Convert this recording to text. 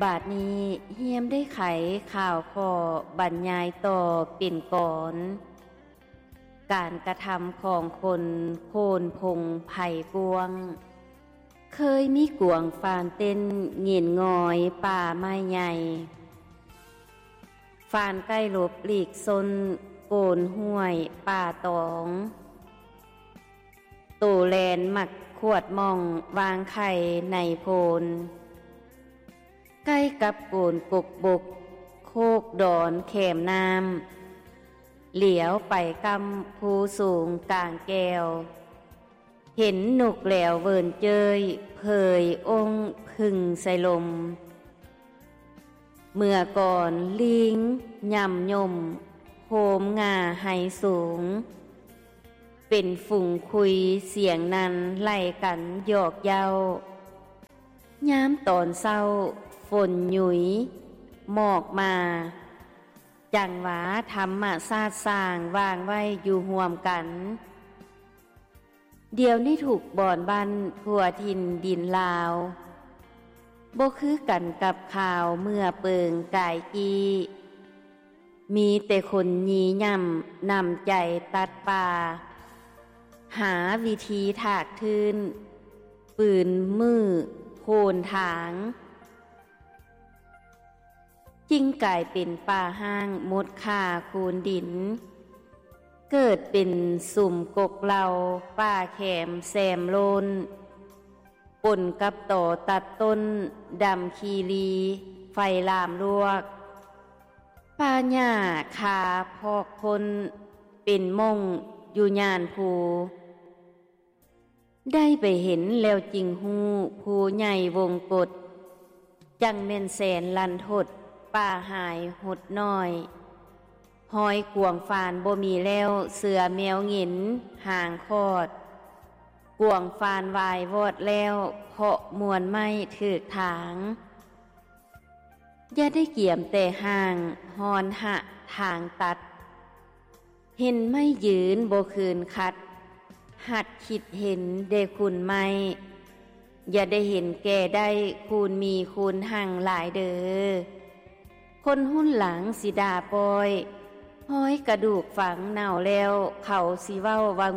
ບາດນີ້ຮຽມໄດ້ໄຂຂ່າວຂໍ້ບັນຍາຍຕໍ່ເປັນກອນ ການກະທຳຂອງຄົນໂຄນພົງໄພກວ້າງ. ເຄີຍມີກວາງຟານເຕັ້ນເຫງັນງອຍປ່າໄມ້ໃຫຍ່, ຟານໄກ່ຫຼົບຫຼີກຊົນໂກນຫ້ວຍປ່າຕອງ, ໂຕແລນມັກຂວດໝ່ອງວາງໄຂ່ໃນໂພນ, ໃກ້ກັບໂກນກົກບົກໂຄກດອນແຄມນ້ຳ, ຫຼຽວໄປກ້ຳພູສູງກາງແກ້ວ, ເຫັນນົກແລວເວີນເຈີຍເຜີຍອົ້ງຜຶ່ງໃສ່ລົມ. ເມື່ອກ່ອນລີງຫຍ້ຳຍົມໂຮມງ່າໄຮສູງ, ເປັນຝູງຄຸຍສຽງນັ້ນໄລ່ກັນຫຍອກເຍົ້າ. ຍາມຕອນເຊົ້າຝົນຫຍຸຍໝອກມາ, ຈັ່ງວ່າທຳມະຊາດສ້າງວາງໄວ້ຢູ່ຮ່ວມກັນ. ດຽວນີ້ທຸກບ່ອນບ້ານທົ່ວຖິ່ນດິນລາວ ບໍ່ຄືກັນກັບຄາວເມື່ອເປີງກາຍກີ້, ມີແຕ່ຄົນຢີຫຍ້ຳນຳໃຈຕັດປ່າ, ຫາວິທີຖາກທຶນ ປືນມືໂຄນທາງ. ຈຶ່ງກາຍເປັນປ່າຮ້າງມົດຂ້າຄູນດິນ, ເກີດເປັນສຸມກົກເຫຼົ່າປ່າແຄມແຊມໂລ້ນ, ປົນກັບຕໍຕັດຕົ້ນດຳຄີລີໄຟລາມລວກ, ປ່າຫຍ້າຄາພອກພົ້ນເປັນມົ້ງຢູ່ຍ່ານພູ. ໄດ້ໄປເຫັນແລ້ວຈຶ່ງຮູ້ ພູໃຫຍ່ວົງກົດ ຈັ່ງແມ່ນແສນລັນທົດ ປ່າຫາຍຫົດນ້ອຍ. ຮອຍກວາງຟານບໍ່ມີແລ້ວ ເສືອແມວເຫງັນຫາງຂອດ, ກວາງຟານວາຍວອດແລ້ວ ເພາະມວນໄມ້ຖືກທາງ. ຢ່າໄດ້ກຽມແຕ່ຮ່າງ ຮ້ອນຫະທາງຕັດ, ເຫັນໄມ້ຢືນບໍ່ຄືນຂັດ, ຫັດຄິດເຫັນແດ່ຄູນໄມ້. ຢ່າໄດ້ເຫັນແກ່ໄດ້ ຄູນມີຄູນຮັ່ງຫຼາຍເດີ, ຄົນຮຸ່ນຫຼັງຊິດ່າປ້ອຍ. ຮອຍກະດູກຝັງເນົ່າແລ້ວ ເຂົາຊິເວົ້າວ່າ